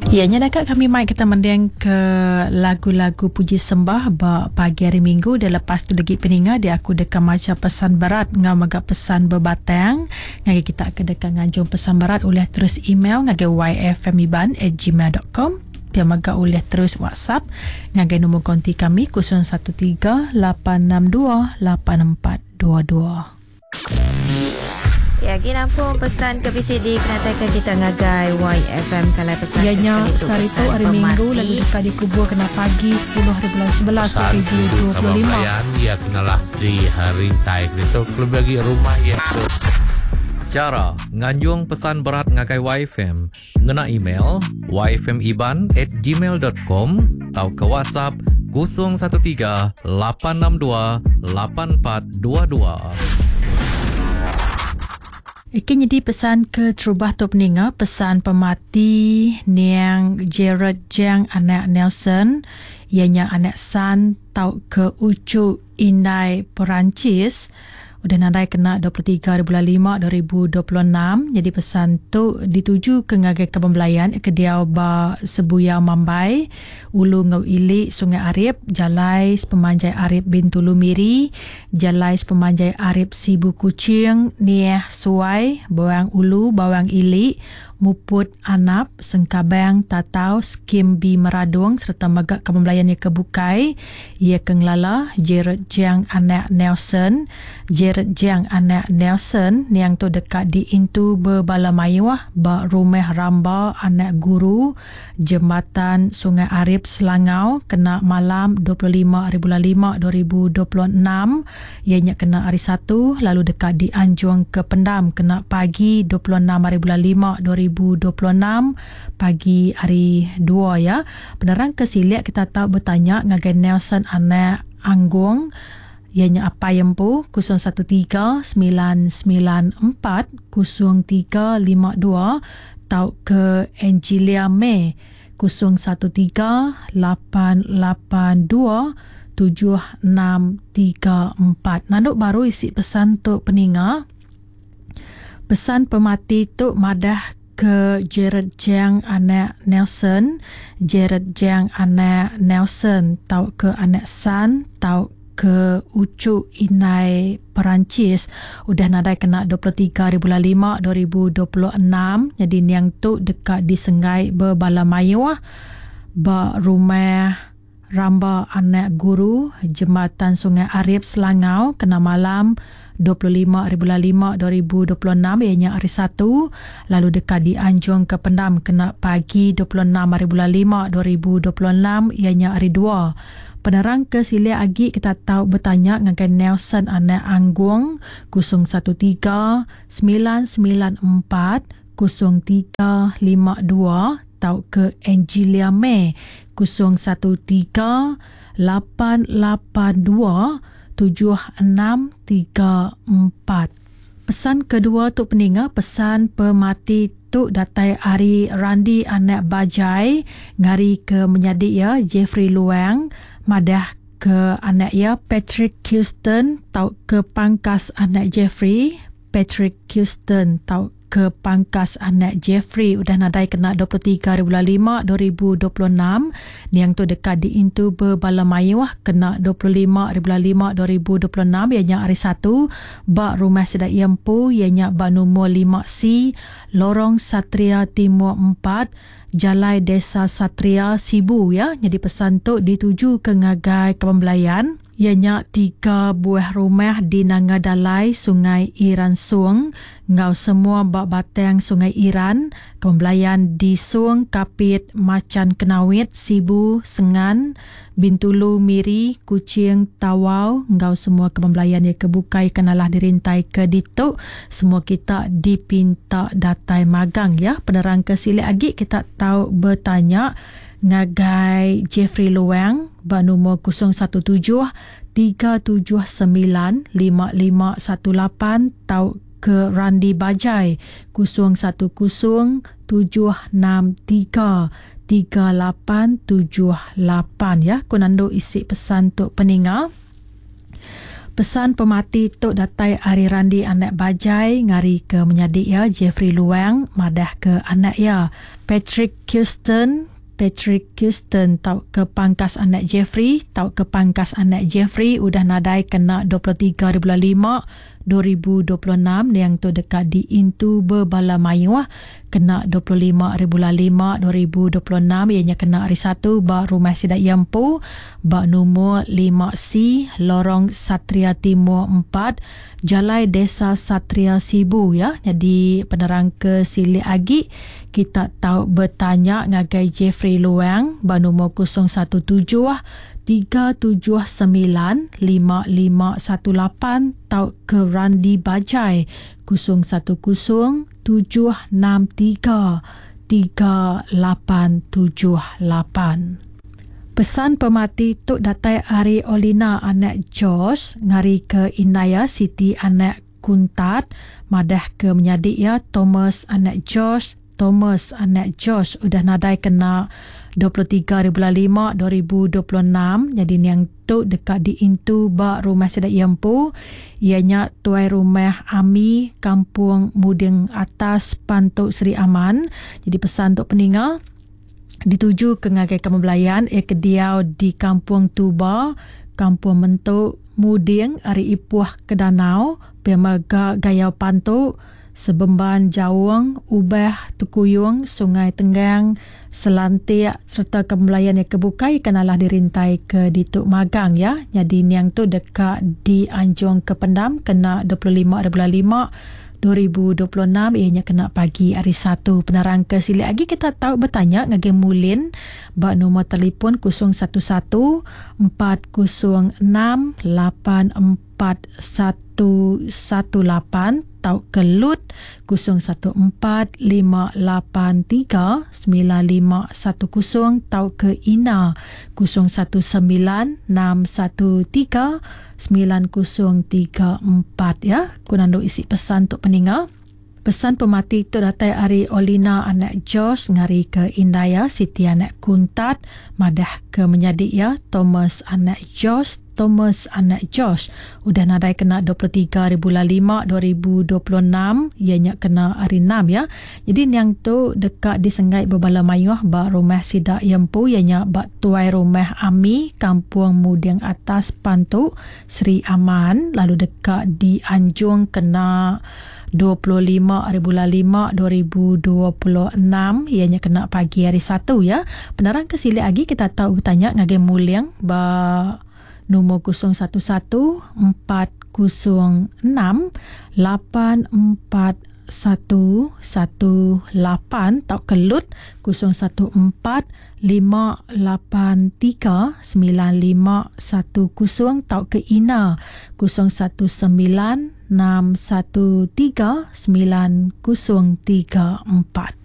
Ya nya deka kami mai kita mending ke lagu-lagu puji sembah ba pagi hari minggu dan lepas tu lagi peninga dia aku deka macha pesan berat ngau mega pesan bebatang ngagai kita ke deka nganjung pesan berat ulih terus email ngagai yfmiban@gmail.com pia mega ulih terus WhatsApp ngagai nombor konti kami 013 862 8422. Ya, agi nampung pesan ke bisi dikenataika kita ngagai YFM kalai pesan Iya ke nya sekali tu sehari tu pesan hari Minggu lalu pemati. deka dikubur kena pagi 10 hari bulan 11 Pesan rindu kaban 2025. belayan iya kenalah di rintai ditu kelebih agi rumah iya ke Chara nganjung pesan berat ngagai YFM ngena email yfmiban@gmail.com tauka WhatsApp 013 862 8422. Iki nyadi pesan ke terubah tu peninga pesan pemati niang Gerard Jang anak Nelson iya nya anak San tauka uchu indai Perancis udah nadai kena 23 hari bulan 5 2026. Jadi pesan tu dituju ke ngagai kaban belayan ke diau ba Sebuyau Mambai, Ulu enggau Ili Sungai Arip, Jalai Sepemanjai Arip Bintulu Miri, Jalai Sepemanjai Arip Sibu Kuching, Niah Suai, Bawang Ulu, Bawang Ili, Muput Anap, Sengkabang, Tatau, Skim B Meradong sereta mega kaban belayan iya ke bukai. Iya ke ngelala Gerard Jiang anak Nelson. Gerard Jiang anak Nelson niang tu deka diintu bebala mayuh ba Rumah Ramba Anak Guru, Jembatan Sungai Arip Selangau kena malam 25 hari bulan 5 2026. Iya nya kena hari Satu lalu deka dianjung ke pendam kena pagi 26 hari bulan 5 2026 pagi hari 2 ya. Penerang ke silik kita tau bertanya ngagai Nelson anak Anggung iya nya apai empu 013 994 0352 tauka Angelia May 013 882 7634. Nanduk baru isi pesan tu peninga. Pesan pemati tu madah ke Gerard Jiang anak Nelson, Gerard Jiang anak Nelson tauka anak San tauka uchu indai Perancis udah nadai kena 23 hari bulan 5 2026. Jadi niang tu deka disenggai bebala mayuh ba rumah Ramba Anak Guru, Jembatan Sungai Arip Selangau kena malam 25 hari bulan 5 2026 iya nya hari Satu lalu deka dianjung ke pendam kena pagi 26 hari bulan 5 2026 iya nya hari 2. Penerang ke silik agi kita tau bertanya ngagai Nelson Anak Anggung 013 994 0352 tauka Angelia May 013 882 7634. Pesan kedua tu peninga pesan pemati tu datai ari Randi anak Bajai ngari ke menyadi iya Jeffrey Luang madah ke anak iya Patrick Houston tauka pangkas anak Jeffrey Patrick Houston tauka ke pangkas anak Jeffrey udah nadai kena 23 hari bulan 5 2026. Niang tu deka diintu bebala mayuh kena 25 hari bulan 5 2026 iya nya hari Satu ba rumah sida iya empu iya nya ba numur 5C Lorong Satria Timur 4 Jalai Desa Satria Sibu ya. Jadi pesan tu dituju ke ngagai kaban belayan iya nya 3 buah rumah di Nanga Dalai Sungai Iran Sung enggau semua ba batang Sungai Iran, kaban belayan di Sung, Kapit, Macan Kenawit, Sibu, Sengan, Bintulu, Miri, Kuching, Tawau enggau semua kaban belayan iya ke bukai kenalah dirintai ke ditu. Semua kita dipinta datai magang ya. Penerang ke silik agi kita tau bertanya ngagai Jeffrey Luang ba nombor 017 379 5518 tau ke Randi Bajai 010 763 3878 ya. Ku nandu isi pesan tu peninga. Pesan pemati tu datai ari Randi anak Bajai ngari ke menyadi iya Jeffrey Luang madah ke anak iya Patrick Kirsten Patrick Kirsten tauka pangkas anak Jeffrey tauka pangkas anak Jeffrey udah nadai kena 23 hari bulan 5 2026 niang tu deka diintu bebala mayuh kena 25 hari bulan 5 2026 iya nya kena hari Satu ba rumah sida iya empu ba numur 5C Lorong Satria Timur 4 Jalai Desa Satria Sibu ya. Nyadi penerang ke silik agi kita tau betanya ngagai Jeffrey Luang ba numur 017 379 5518 tauka Randi Bajai 010 763 3878. Pesan pemati tu datai ari Olina anak George ngari ke indai iya Siti anak Kuntat madah ke menyadi iya Thomas anak George Thomas anak George udah nadai kena 23 hari bulan 5 2026 nyadi niang tu deka diintu ba rumah sida iya empu iya nya Tuai Rumah Ami Kampung Muding Atas Pantu Sri Aman. Jadi pesan tu peninga dituju ke ngagai kamu belayan iya ke diau di Kampung Tuba, Kampung Mentu, Muding ari Ipuh ke Danau, pia mega Gayau Pantu, Sebemban Jaung, Ubah, Tekuyung, Sungai Tenggang, Selantik sereta ke belayan iya ke bukai ke nalah dirintai ke ditu magang ya. Nyadi niang tu deka dianjung ke pendam kena 25 hari bulan 5 2026 iya nya kena pagi hari Satu. Penerang ke silik agi kita tau betanya ngagai Mulin ba nombor telefon 011 406 84 4118 tauka lut 014 583 9510 tauka ina 019 613 9034 ya. Ku nandu isi pesan tu peninga. Pesan pemati tu datai ari Olina anak George ngari ke indai iya Siti anak Kuntat madah ke menyadi iya Thomas anak George Thomas anak George udah nadai kena 23 hari bulan 5 2026 iya nya kena hari 6 ya. Jadi niang tu deka disenggai bebala mayuh ba rumah sida iya empu iya nya ba Tuai Rumah Ami Kampung Muding Atas Pantu Sri Aman lalu deka dianjung kena 25 hari bulan 5 2026 iya nya kena pagi hari Satu ya. Penerang ke silik agi kita tau betanya ngagai Muling ba nombor 011 406 84 118 tauka lut 014 583 9510 tauka ina 019 613 9034.